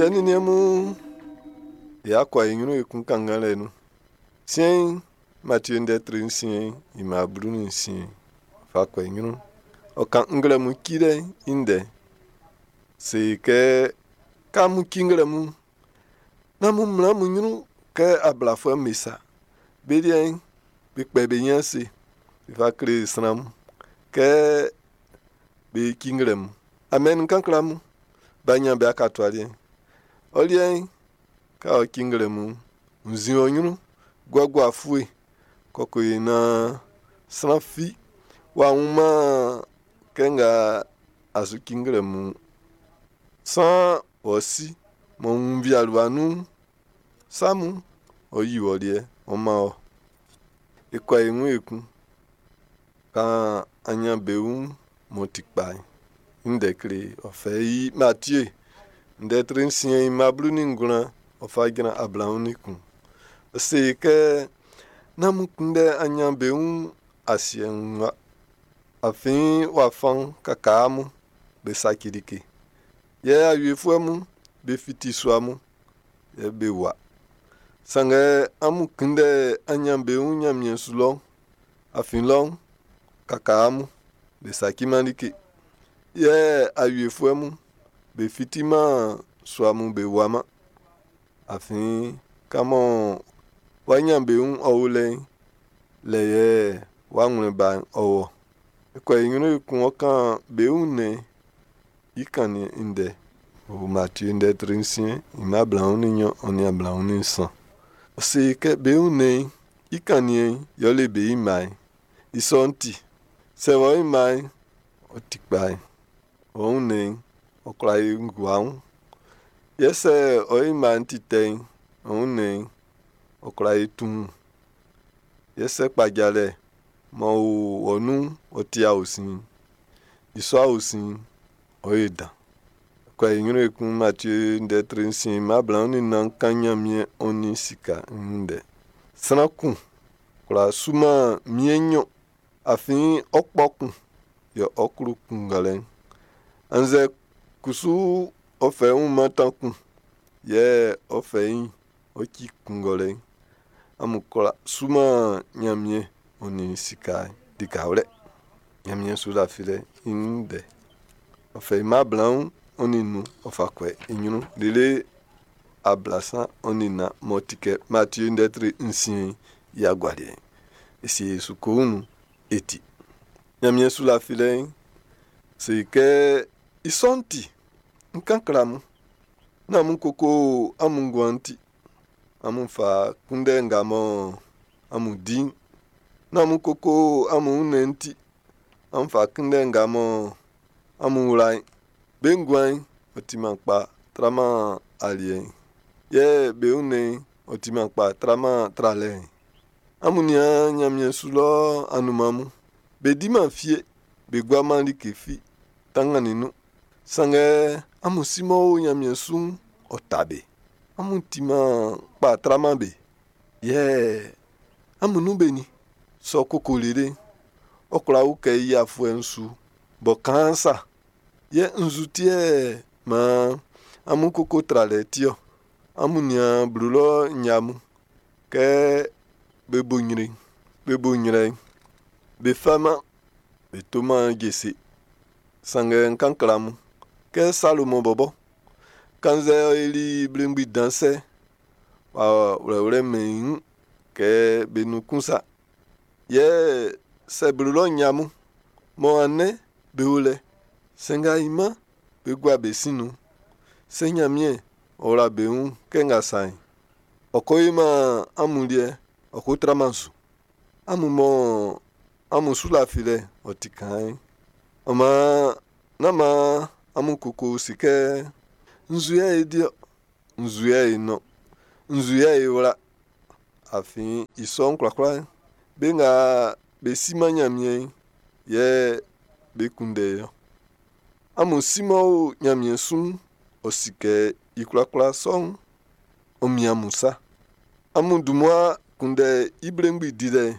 Siɛ nin niɛn mun, y'a kɔ e ɲrun ekun kannganlɛ nun. Siɛn'n, Matie ndɛ tre nsiɛn i mma 16 fa kɔ e ɲrun. Ɔ kan nglɛmun cilɛ'n i ndɛ. Se kɛ, kɛ amun ci nglɛmun'n, nán amun mlan amun ɲrun kɛ ablafuɛ'm be sa. Be liɛ'n, be kpɛ be ɲin ase be fa kle sran mun kɛ be ci nglɛmun. Amen n kan kle amun, b'a ɲan be akatua liɛ'n. Ɔ liɛ'n, kɛ ɔ ci nglɛmun'n, wunnzin ɔ ɲrun, guagua fue kɔ ko yo naan sran fi w'a wunman kɛ nga a su ci nglɛmun'n. Saan wɔ si m'ɔ wun nvialiɛ nun sa mun'n, ɔ́ yí wɔ liɛ'n, ɔ́ mán wɔ. E kɔ e ɲrun ekun. Kan aɲanbeun m'ɔ ti kpa'n i ndɛ kle e. Ɔ fɛ i Matie ndɛ tre nsiɛn i mma 19 ɔ fa jran 21. Ɔ se e kɛ, nán amun kunndɛ aɲanbeun asiɛ'n wun wa. Afin wafa'n kakaa mun be saci like. Yɛ awiefuɛ mun be fiti sua mun, yɛ be wua. Sanngɛ amun kunndɛ aɲanbeun Ɲanmiɛn su lɔ. Afin lɔ'n, kakaa mun be saciman like. Yɛ awiefuɛ mun be fitiman sua mun be wuaman. Afin kan mɔ wɔ aɲanbeun'n ɔ o lɛ'n, lɛ yɛ wɔ awlɛn ba'n ɔ o ɔ. E kɔ e ɲrun ekun ɔ kan be wunnɛn'n i kannin'n i ndɛ. O Matie ndɛ tre nsiɛn i mma 22 ɔ nin 23. Ɔ se kɛ be wunnɛn'n i kannin'n yɛle be mma'n. I sɔ'n ti, sɛ wɔ i mma'n ɔ ti kpa'n, wɔ wunnɛn'n ɔ kwla yo nguan. Yɛ sɛ ɔ i mma'n ti tɛ'n, ɔ wunnɛn'n ɔ kwla yo tuun. Yɛ sɛ kpajalɛ m'ɔ o wɔ nun'n ɔ ti aosin'n, i sɔ aosin'n, ɔ yo dan. Kɔ e ɲrun ekun Matie ndɛ tre nsiɛn mma 24 kan Ɲanmiɛn ɔ nin sika i ndɛ. Sran kun kwlá suman miɛn nɲɔn, afin ɔ kpɔ kun yɛ ɔ klo kun ngalɛ'n. Annzɛ kusu ɔ fɛ i wun mantan kun, yɛ ɔ fɛ i ɔ ci kun ngalɛ'n. Amun kwlá suman Ɲanmiɛn ɔ nin sika likawlɛ. Ɲanmiɛn su lafilɛ'n i ndɛ. Ɔ fɛ i mma 25 ɔ fa kɔ i ɲrun lele 34 m'ɔ ti kɛ Matie ndɛ tre nsiɛn'n i agualiɛ'n. E sie e su koun nun e ti. Ɲanmiɛn su lafilɛ'n se kɛ i sɔ'n ti, n kan kle amun. Nán amun koko amun nguan'n ti. Amun fa kunndɛ nga mɔ amun di'n. Nán amun koko amun wunnɛn'n ti. Amun fa kunndɛ nga mɔ amun wla'n. Be nguan'n, ɔ timan kpa traman aliɛ'n. Yɛ be wunnɛn'n, ɔ timan kpa traman tralɛ'n. Amun nian ɲanmiɛn su lɔ anunman mun. Be diman fie, be guaman like fi tanngannin nun. Sanngɛ amun si m'ɔ o ɲanmiɛn su'n, ɔ ta be. Amun timan kpa traman be. Yɛ amun nun benin sɔ koko lele'n, ɔ kwla ukɛ i afuɛ'n su bɔ kaan sa. Yɛ nzu ti yɛ maan amun koko tralɛ ti ɔ? Amun nian blo lɔ nɲa mun. Kɛ be bo nɲrɛ'n, be bo nɲrɛ'n, be faman, be toman jese. Sanngɛ n kan kle amun kɛ Salomɔn bɔbɔ, kannzɛ ɔ yoli blengbi dan sɛ, w'a wlɛwlɛmɛn i wun kɛ be nun kun sa. Yɛ sɛ blo lɔ nɲa mun, mɔ andɛ be o lɛ, sanngɛ ainman be gua be sin nun'n, sɛ Ɲanmiɛn ɔ wla be wun kɛ nga sa'n, ɔ ko yoman amun liɛ, ɔ ko traman su. Amun mɔ amun su lafilɛ'n ɔ ti kaan'n. Ɔ maan, nán maan amun koko se kɛ, nzu yɛ é dí ɔ, nzu yɛ é nɔ́n, nzu yɛ é wlá. Afin i sɔ'n kwlakwla'n, be nga be siman Ɲanmiɛn'n yɛ be kunndɛ ɔ. Amun si m'ɔ o Ɲanmiɛn su'n, ɔ si kɛ i kwlakwla sɔ'n, ɔ mian amun sa. Amun dun mmua kunndɛ i mblengbi dilɛ'n.